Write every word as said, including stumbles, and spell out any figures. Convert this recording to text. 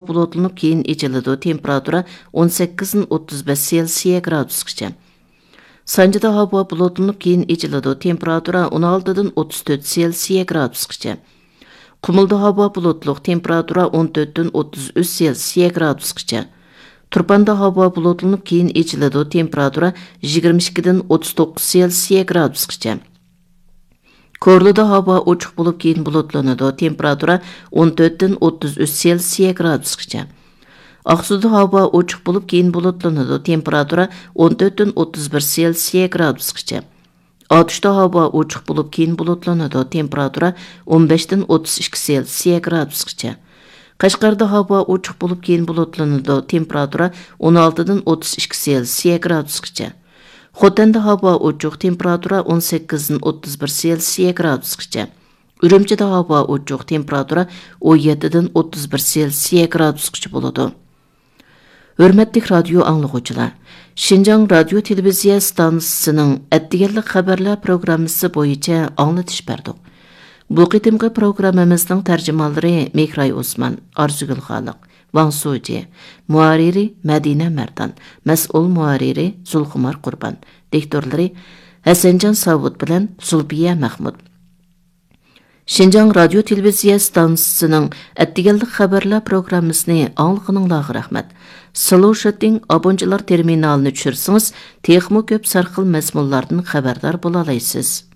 بۇلۇتلىنىپ، كېيىن ئېچىلىدۇ، تېمپېراتۇرا ئون سەككىزدىن ئوتتۇز بەش سېلسىيە گرادۇسقىچە. سانجىدا ھاۋا بۇلۇتلىنىپ، كېيىن ئېچىلىدۇ، تېمپېراتۇرا ئون ئالتىدىن ئوتتۇز تۆت سېلسىيە گرادۇسقىچە. قۇمۇلدا ھاۋا بۇلۇتلۇق، تېمپېراتۇرا ئون تۆتتىن ئوتتۇز ئۈچ سېلسىيە گرادۇسقىچە. تۇرپاندا ھاۋا بۇلۇتلىنىپ، كېيىن ئېچىلىدۇ، تېمپېراتۇرا يىگىرمە ئىككىدىن ئوتتۇز توققۇز سېلسىيە گرادۇسقىچە. كورلىدا ھاۋا ئوچۇق بولۇپ، كېيىن بۇلۇتلىنىدۇ، تېمپېراتۇرا ئون تۆتتىن ئوتتۇز ئۈچ سېلسىيە گرادۇسقىچە. ئاقسۇدا ھاۋا ئوچۇق بولۇپ، كېيىن بۇلۇتلىنىدۇ، تېمپېراتۇرا ئون تۆتتىن ئوتتۇز بىر سېلسىيە گرادۇسقىچە. ئاتۇشتا ھاۋا ئوچۇق بولۇپ، كېيىن بۇلۇتلىنىدۇ، تېمپېراتۇرا ئون بەشتىن ئوتتۇز ئىككى سېلسىيە گرادۇسقىچە. قەشقەردە ھاۋا ئوچۇق بولۇپ، كېيىن بۇلۇتلىنىدۇ، تېمپېراتۇرا ئون ئالتىدىن ئوتتۇز ئىككى سېلسىيە گرادۇسقىچە. خوتەندە ھاۋا ئوچۇق، تېمپېراتۇرا ئون سەككىزدىن ئوتتۇز بىر سېلسىيە گرادۇسقىچە. ئۈرۈمچىدە ھاۋا ئوچۇق، تېمپېراتۇرا ئون يەتتىدىن ئوتتۇز بىر سېلسىيە گرادۇسقىچە بولىدۇ. ھۆرمەتلىك رادىيو ئاڭلىغۇچىلار، شىنجاڭ رادىيو تېلېۋىزىيە ئىستانسىسىنىڭ ئەتىگەنلىك خەۋەرلەر پروگراممىسى بويىچە ئاڭلىتىش بەردۇق. بۇ قېتىمقى پروگراممىمىزنىڭ تەرجىمانلىرى مېھراي ئوسمان، ئارزۇگۈل خالىق، ۋاڭ سۇجى، مۇھەررىرى مەدىنە مەردان، مەسئۇل مۇھەررىرى زۇلخۇمار قۇربان، دىكتورلىرى ھەسەنجان ساۋۇت بىلەن زۇلپىيە مەخمۇت. شىنجاڭ رادىيو تېلېۋىزىيە ئىستانسىسىنىڭ ئەتىگەنلىك خەۋەرلەر پروگراممىسىنى ئاڭلىغىنىڭلارغا رەھمەت. سلوشىتىڭ ئابونچىلار تېرمىنالىنى چۈشۈرسىڭىز، تېخىمۇ كۆپ سەرخىل مەزمۇنلاردىن خەۋەردار بولالايسىز.